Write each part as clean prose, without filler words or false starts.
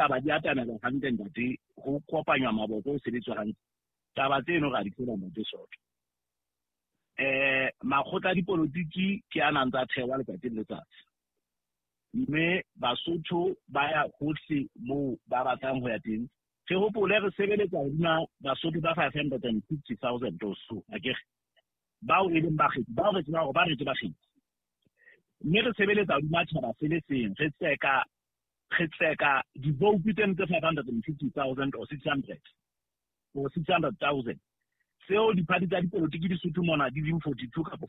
Taba di atamela hantle, ntate, ho kopanywa maboko, ho sebetswa hantle. Taba tseno ra di tseba, ntate Soto. Makgotla a dipolotiki ke a nang tsa thewa letsatsi le letsatsi. Mme Basotho ba ya hohle moo ba batlang ho ya teng. Re hopole re sebeletsa hodima Basotho ba 550,000 or so, akere? Bao e leng bakgethi, bao re tsebang hore ba re ke bakgethi. Mme re sebeletsa hodima tjhaba se le seng, re tseka di-vote tseno tse 550,000 or 600 or 600,000 tseo diphathi tsa dipolotiki di Sotho mona di leng 42 kapa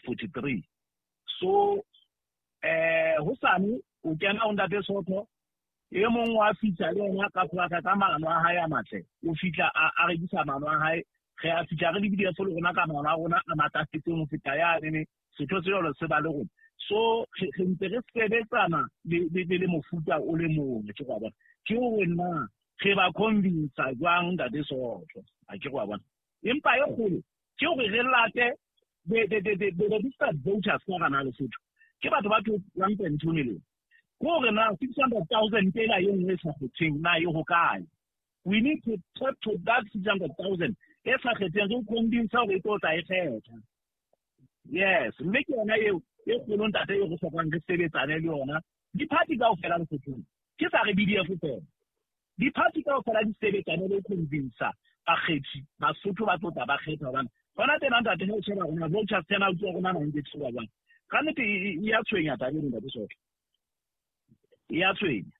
43. So hosane o kena ho ntate Sotho e mong wa fihla le yena ka polaka ka maano a hae a matle, o fihla a rekisa maano a hae. Re a fihla re le BDF le rona ka maano a rona a matlafetseng ho feta yanene. Setho se jwalo se ba le rona, so re ntse re sebetsana le mofuta o le mong. Ke go bona ke hore na re ba convince jwang, ntate Sotho, a ke go bona. Empa e kgolo ke hore re late the registered voters ka gana Lesotho ke batho ba 1.2 million. Ke hore na 600,000 ela e nngwe e sa kgetheng na e hokae? We need to talk to that 600,000 e sa kgetheng, re convince hore e tlo tla e kgetha. Yes, mme ke yona eo e kgolo, ntate, e re hlokang re sebetsane le yona. Diphathi kaofela Lesothong, ke sa re BDF fela, diphathi kaofela di sebetsane le ho convince bakgethi Basotho ba tlo tla ba kgetha, hobane hona tena, ntate, ha o sheba rona voters turnout ya rona 92 ba jwang, ka nnete e ya tshwenya taba eno, ntate Soto, e ya tshwenya.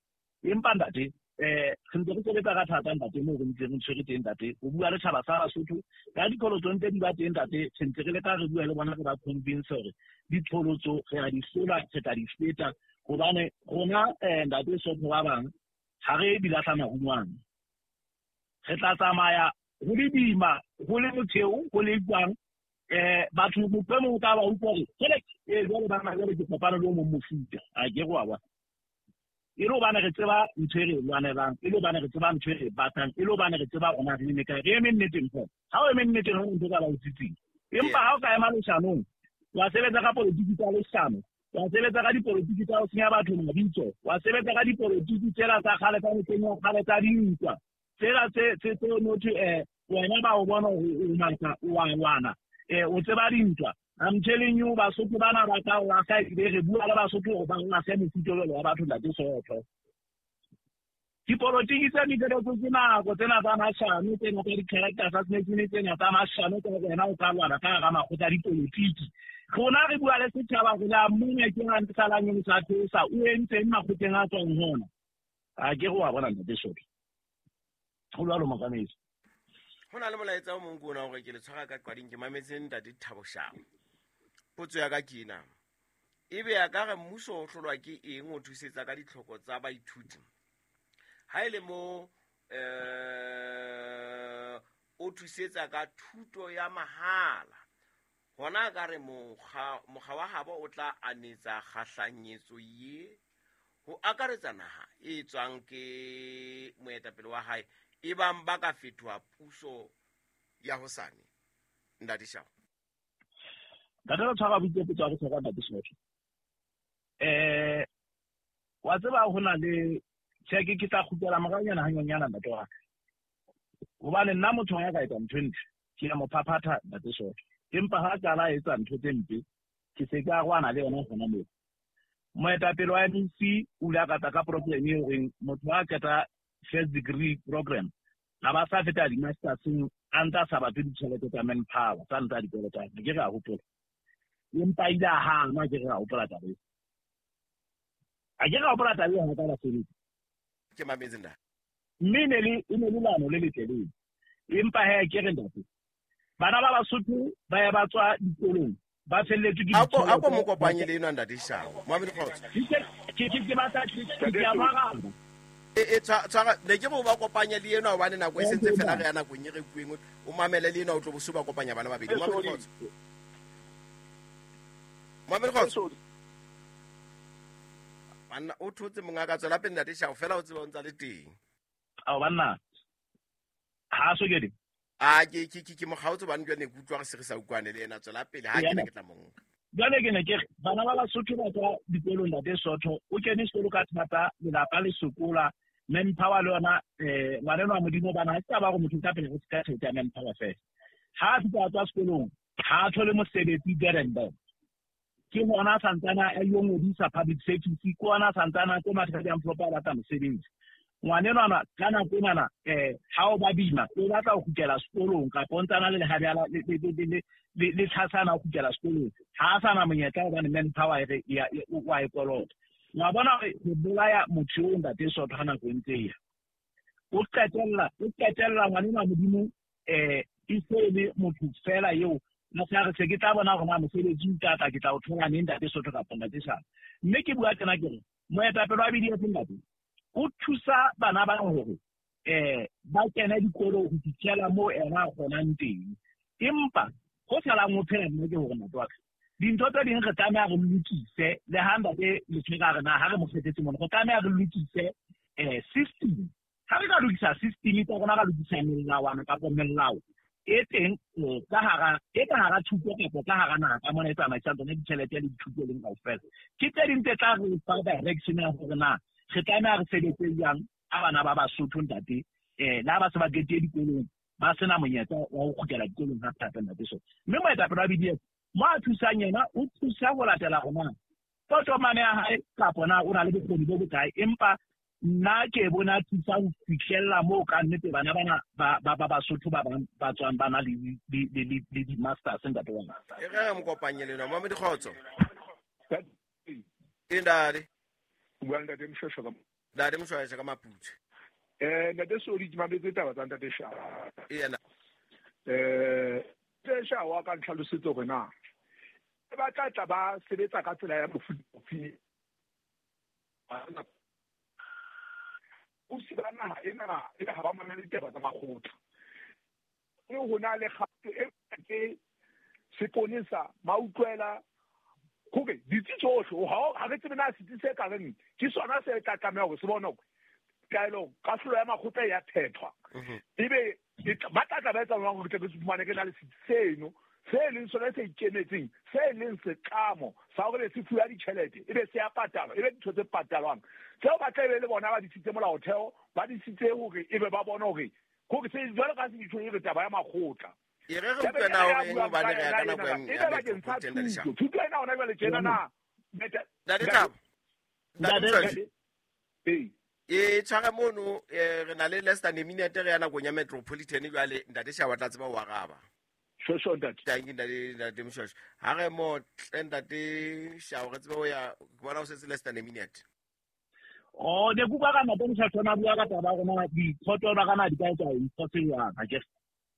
Empa ntate, re ntse re sebetsa ka thata, ntate, moo re ntse re tshwere teng, ntate, ho bua le tjhaba sa Basotho ka diqholotso ntse di ba teng, ntate. Re ntse re leka re bua le bona, re ba convince hore diqholotso re a di hlola, re tla di feta, hobane rona, ntate Sotho, ba bang ha re di lahla marungwane, re tla tsamaya ho le boima, ho le motheo, ho le jwang. Batho motho e mong o tla ba utlwa hore jwale jwale bana jwale ke kopane le o mong mofuta, a ke go wa bona. E le hobane re tseba ntho e re e lwanelang, e le hobane re tseba ntho e re e batlang, e le hobane re tseba rona re eme kae, re eme nneteng fela. Ha o eme nneteng, ha ntho ka ba o tsitsing. Empa ha o ka ema leshanong, wa sebetsa ka politiki tsa leshano, wa sebetsa ka dipolotiki tsa ho senya batho mabitso, wa sebetsa ka dipolotiki tsela tsa kgale, tsa mehleng ya kgale, tsa dintwa tsela tse motho wena ba o bona hore o matla, o wa lwana, o tseba dintwa. I'm telling you, Basotho bana ba tla o lahla. Ebile re bua le Basotho hore ba lahle mofuta jwalo wa batho, ntate Sotho. Dipolotiki tse di ke nako tsena tsa mashano, tsena tsa di-character assassination, tsena tsa mashano tsa wena o ka lwana ka hara makgotla a dipolotiki. Rona re bua le setjhaba re la mona ke ha salang e sa theosa o entseng makgotleng a tswang hona, a ke re wa bona, ntate Sotho, ho jwalo, motsamaisi. Ho na le molaetsa o mong ke ona hore ke le tshwara ka qwading. Ke mametse ntate Thabo Shao. Potso ya ka ke ena: ebe a ka re mmuso o hlolwa ke eng ho thusetsa ka ditlhoko tsa baithuti ha e le mo o thusetsa ka thuto ya mahala? Hona ka re mokga wa habo o tla anetsa kgahlanyetso ye ho akaretsa naha e tswang ke moetapele wa hae, e bang ba ka fetoha puso ya hosane, ntate Shao? Ntate, re tshwara boitse potso ya bohlokwa, ntate Sotho. Wa tseba ho na le tjhe, ke tla kgutlela moranyana hanyanyana, ntate wa ka, hobane nna motho ya ka etsa ntho e ntle ke ya mo phaphatha, ntate Sotho, empa ha qala a etsa ntho tse mpe, ke se ke arohana le yona hona moo. Moetapele wa MEC o ile a kata ka program e horeng motho a qeta first degree program a ba sa feta di-masterseng a ntse a sa batle ditjhelete tsa manpower tsa ntse a di kolotang. Ke re a hopola, empa ile a hana. Ke re a hopola taba eo, a ke re a hopola taba eo ha ka basebetsi. Ke mametse, ntate. Mme e ne le leano le letle leo, empa he ke re, ntate, bana ba Basotho ba ya ba tswa dikolong ba felletswe ke Ako mo kopanye le ena, ntate Shao. Moamedi, kgotso. Ke batla ke a maraba. E tshwara ne ke re o ba kopanye le ena, hobane nako e sentse fela re ya nakong e re kueng. O mamele le ena, o tlo bo se ba kopanya bana babedi. Moamedi, kgotso. Moamedi, kgotso. Banna, o thotse monga ka. Tswela pele, ntate Shao, fela o tseba o ntsa le teng. Ao banna, ha so ke A ke mokgaotse bane jwa ne ke utlwa re se re sa utlwane le ena. Tswela pele, ha ke ne ke tla monka. Jwale ke ne ke re bana ba Basotho ba tswa dikolong, ntate Sotho, o kene sekolo ka thata, lelapa le sokola. Manpower le yona ngwaneno wa Modimo bana ha se taba hore motho o tla phela ka tjhelete ya manpower fela. Ha a fihla a tswa sekolong ha a thole mosebetsi there and then. Ke hona a santsana a yo ngodisa public service, ke hona a santsana a tlo matha ka diamflopo a batla mosebetsi. Ngwanenwana ka nako enana ha o ba bima o batla ho kgutlela sekolong kapa o ntsana le lehabjala le tlhasana ho kgutlela sekolong, ha a sana monyetla hobane manpower e re wa e kolota. Wa bona hore re bolaya motho eo ntate Sotho ha nako e ntse e ya. O qetella ngwanenwa Modimo e se e le motho fela eo a sa re se ke tla bona hore na mosebetsi o tla tla ke tla o thola neng ntate Sotho kapa ntate Shaba. Mme ke bua tjena ke re moetapele wa BDF ntate o thusa bana ba hore ba kene dikolo ho fitlhela moo ena a kgonang teng. Empa ho salang ho phela nna ke hore ntate wa ka dintho tse ding re tlameha re lokise le ha ntate Letshwere re na ha re mo kgethetse mona, re tlameha re lokise system. Ha re ka lokisa system tsa rona, ra lokisa melawana kapa melao e teng ka hara thuto kapa ka hara naha ka mona e tsamaisang tsona ditjhelete le dithuto leng kaofela. Ke tse ding tse tla re fa direction ya hore na re tlameha re sebetse jwang a bana ba Basotho ntate le ha ba se ba qetile dikolong ba sena monyetla wa ho kgutlela dikolong hape hape ntate so. Mme moetapele wa BDF mo a thusang yena o thusa ho latela hore na totomane ya hae kapa na o na le bokgoni bo bokae, empa nna ke bona thusa ho fihlella moo ka nnete bana bana ba Basotho ba bang ba tswang ba na le di-masters ntate wa ka. E re mo kopanye le nna, Mamedi Kgotso. E ntate. O bua ntate Mshweshwe ka Ntate Mshweshwe ka Maputswe. Ntate Sodi ke mametse taba tsa ntate Shawa. Yena. Ntate Shawa ka ntlhalosetse hore na ba tla tla ba sebetsa ka tsela ya mofuta ofe. Bosi ba naha ena e ha ba mamele ditaba tsa makgotla. Le ho na le kgato e ke seponesa mautlwela hore ditsi tsohle ha re tsebe na setsi se ka reng ke sona se tla tlameha hore se bone hore taelo kahlolo ya makgotla ya phethwa. Ebe ba tla tla ba etsa jwang hore tle re fumane re na le setsi seno se leng sona se ikemetseng, se leng setlamo sa hore se fuwa ditjhelete, ebe se ya patalwa, ebe dintho tse patalwang. Tseo ba tla be le bona ba disitse molaotheo, ba disitse hore ebe ba bone hore se jwalo ka se ditho e re taba ya makgotla. E re re utlwe na hore eng hobane re ya ka nako ya metropolitan ntate. Thuto ena hona jwale tjena na Ntate Thabo. Ntate e tshware mono re na le less than a minute re ya nakong ya metropolitan jwale ntate Shawa tla tseba ho araba. Shosho ntate. Thank you ntate Mshweshwe. Ha re mo tle ntate Shawa re tsebe ho ya ke bona o setse less than a minute. Oh ne kuka ka ntate Mshweshwe na bua ka taba rona dikhoto ba kana di ka etsa ntho tse jwang ha ke.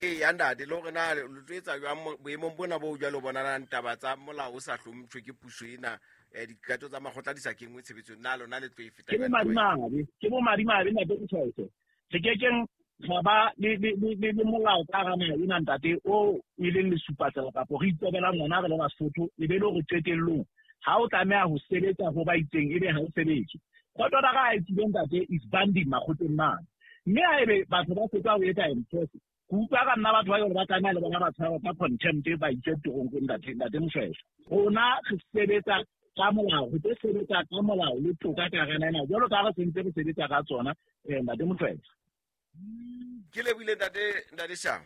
E ya ntate le hore na le tlo etsa jwang boemong bona bo jwalo bonalang taba tsa molao o sa hlomphwe ke puso ena dikgato tsa makgotla di sa kenngwe tshebetsong na lona le tlo e feta Ke bo madimabe ntate Mshweshwe. Re kekeng ga ba le molao ka hara naha ena ntate o e leng lesupatsela kapa re itobela ngwana re le Basotho e be le hore qetellong ha o tlameha ho sebetsa ho ba itseng ebe ha o sebetse. Kgotso ra ga e tsile ntate is banding makgotleng mane. Mme ha ebe batho ba fetsa ho etsa enforce, ke utlwa ka nna batho ba yona ba tlameha le bona ba tshwarwa ka contempt ba itse teronkong ntate Mshweshwe. Rona re sebetsa ka molao, re tlo sebetsa ka molao le toka ka hara naha ena jwalo ka ha re sentse re sebetsa ka tsona ntate Mshweshwe. Ke lebohile ntate Shawa.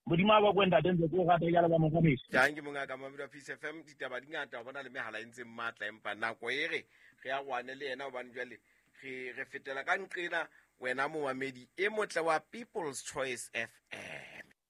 Modimo a bakwe ntate ntse ke o rata jalo ba motsamaisi. Thank you mongaka Mamedi wa Peace FM ditaba di ngata ho bona le mehala e ntseng matla empa nako e re re ya rwane le yena hobane jwale re fetela ka nqena wena momamedi e motle wa People's Choice FM.